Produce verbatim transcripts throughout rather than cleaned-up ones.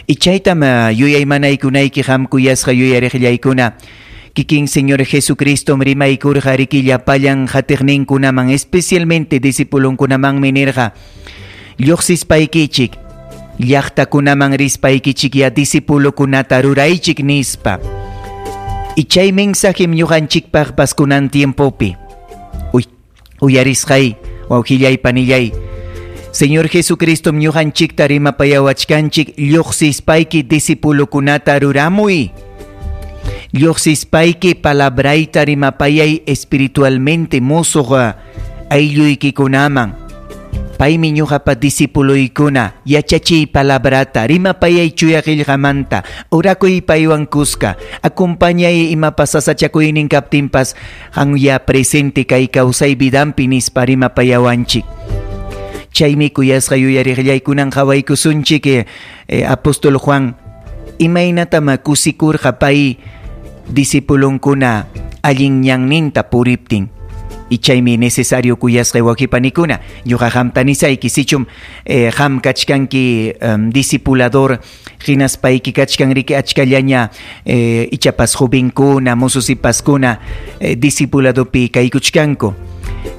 Y chaytam yuyaymanaykunayki qam kuyasqa yuyariqllaykuna. Kikin Señor Jesucristo rimaykurqa riki llapallan qatiqninkunaman, especialmente discipulonkunamanmi nirqa: "Lluqsispaykichik llaqtakunaman rispaykichik ya discipulokunata ruraychik", nispa. Y chay mensajem ñuqanchikpaqpas kunan tiempopi. Uy, uyarisqay, wawqillay, panillay. Señor Jesucristo ñuqanchikta rimapayawachkanchik: "Lluqsispayki discipulokunata ruramuy. Lluqsispayki palabrayta rimapayay espiritualmente musuq aylluykikunaman. Paymi ñuqapa discipuloykuna, yachachiy palabrata, rimapayay chuya qillqamanta, orakuy paywan kuska, acompañay imapas sasachakuynin kaptinpas, qamya presente kay kawsay vidanpi", nispa rimapayawanchik. Chaymi, kuyasqa yuyariqllaykunan, qawaykusunchik eh, eh, apóstol Juan imaynatam kusikurqa pay discipulonkuna allin ñanninta puriptin. Y chaymi necesario, kuyasqa wawqipanikuna, ñuqa qamta nisayki: sichum eh, qam kachkanki um, discipulador, hinaspayki kachkan riki achkallaña eh, ichapas jovenkuna, mozosipaskuna eh, discipuladopi kaykuchkanku.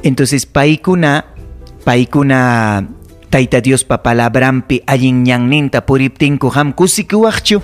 Entonces paykuna paykuna Tayta Diospa palabranpi allin ñanninta puriptinku, qam kusikuwaqchu?